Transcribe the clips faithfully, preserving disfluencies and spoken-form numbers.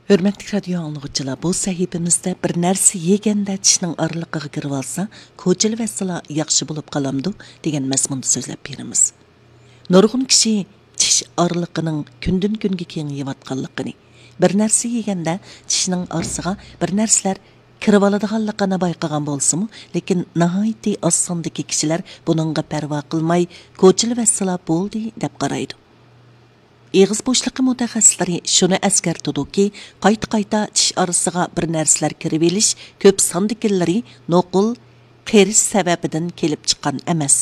ھۆرمەتلىك رادىيو ئاڭلىغۇچىلار، بۇ سەھىپىمىزدە بىر نەرسە يېگەندە چىشنىڭ ئارىلىقىغا كىرىۋالسا، كوچىلىۋەتسىلا ياخشى بولۇپ قالامدۇ دېگەن مەزمۇندا سۆزلەپ بېرىمىز. نۇرغۇن كىشى چىش ئارىلىقىنىڭ كۈندىن كۈنگە كېڭىيىۋاتقانلىقىنى، بىر نەرسە يېگەندە چىشنىڭ ئارىسىغا بىر نەرسىلەر كىرىۋالىدىغانلىقىنى بايقىغان بولسىمۇ، لېكىن ناھايىتى ئاز ساندىكى كىشىلەر بۇنىڭغا پەرۋا قىلماي، كوچىلىۋەتسىلا بولدى دەپ قارايدۇ. ئېغىز بوشلۇقى مۇتەخەسسىسلىرى شۇنى ئەسكەرتىدۇكى، قايتا-قايتا چىش ئارىسىغا بىر نەرسىلەر كىرىۋېلىش كۆپ ساندىكىلىرى نوقۇل قېرىش سەۋەبىدىن كېلىپ چىققان ئەمەس.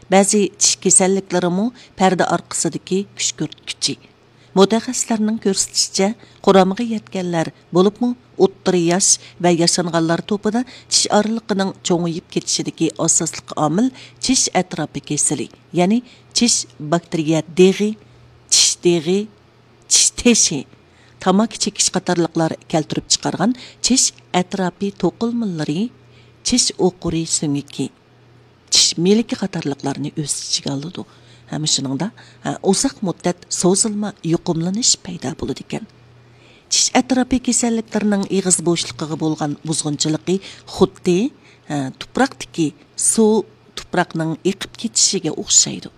بەزى چىش كېسەللىكلىرىمۇ پەردە ئارقىسىدىكى كۈشكۈرتكۈچى. مۇتەخەسسىسلەرنىڭ كۆرسىتىشىچە، قۇرامىغا يەتكەنلەر، بولۇپمۇ ئوتتۇرا ياش ۋە ياشانغانلار توپىدا چىش ئارىلىقىنىڭ چوڭىيىپ كېتىشىدىكى ئاساسلىق ئامىل چىش ئەتراپى كېسىلى، يەنى چىش باكتېرىيە دېغى، چىش دېغى، چىش تېشى، تاماكا چېكىش قاتارلىقلار كەلتۈرۈپ چىقارغان چىش ئەتراپى توقۇلمىلىرى، چىش ئوقۇرى سۆڭىكى، چىش مىلىكى قاتارلىقلارنى ئۆز ئىچىگە ئالىدۇ. ھەم شۇنىڭدا، ھە، ئۇزاق مۇددەت سوزۇلما يۇقۇملىنىش پەيدا بولىدىكەن. چىش ئەتراپى كېسەللىكلىرىنىڭ ئېغىز بوشلۇقىغا بولغان بۇزغۇنچىلىقى خۇددى، ھە، تۇپراقتىكى سۇ تۇپراقنىڭ ئېقىپ كېتىشىگە ئوخشايدۇ.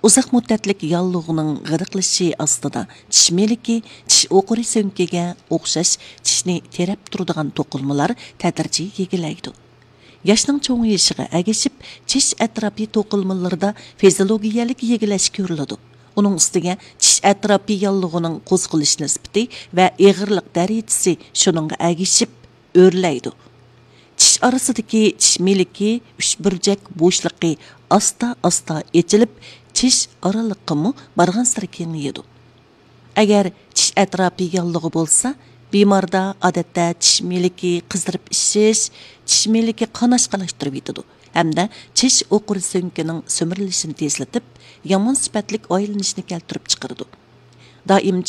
ئۇزاق مۇددەتلىك ياللۇغنىڭ غىدىقلىشى ئاستىدا چىش مىلىكى، چىش ئوقۇرى سۆڭىكىگە ئوخشاش چىشنى تېرەپ تۇرىدىغان توقۇلمىلار تەدرىجىي يېگىلەيدۇ. ياشنىڭ چوڭىيىشىغا ئەگىشىپ، چىش ئەتراپى توقۇلمىلىرىدا فىزىولوگىيەلىك يېگىلەش كۆرۈلىدۇ. ئۇنىڭ ئۈستىگە چىش ئەتراپى ياللۇغىنىڭ قوزغىلىش نىسبىتى ۋە ئېغىرلىق دەرىجىسى شۇنىڭغا ئەگىشىپ ئۆرلەيدۇ. چىش ئارىسىدىكى چىش مىلىكى، ئۈچ بۇرجەك بوشلۇقى ئاستا-ئاستا ئېچىلىپ، چىش ئارىلىقىمۇ بارغانسېرى كېڭىيىدۇ. ئەگەر چىش ئەتراپى ياللۇغى بولسا، بىماردا ئادەتتە چىش مىلىكى قىزىرىپ ئىششىش، چىش مىلىكى قاناشقالاشتۇرۇۋېتىدۇ ھەمدە چىش ئوقۇرى سۆڭىكىنىڭ سۈمۈرۈلۈشىنى تېزلىتىپ، يامان سۈپەتلىك ئايلىنىشنى كەلتۈرۈپ چىقىرىدۇ. دائىم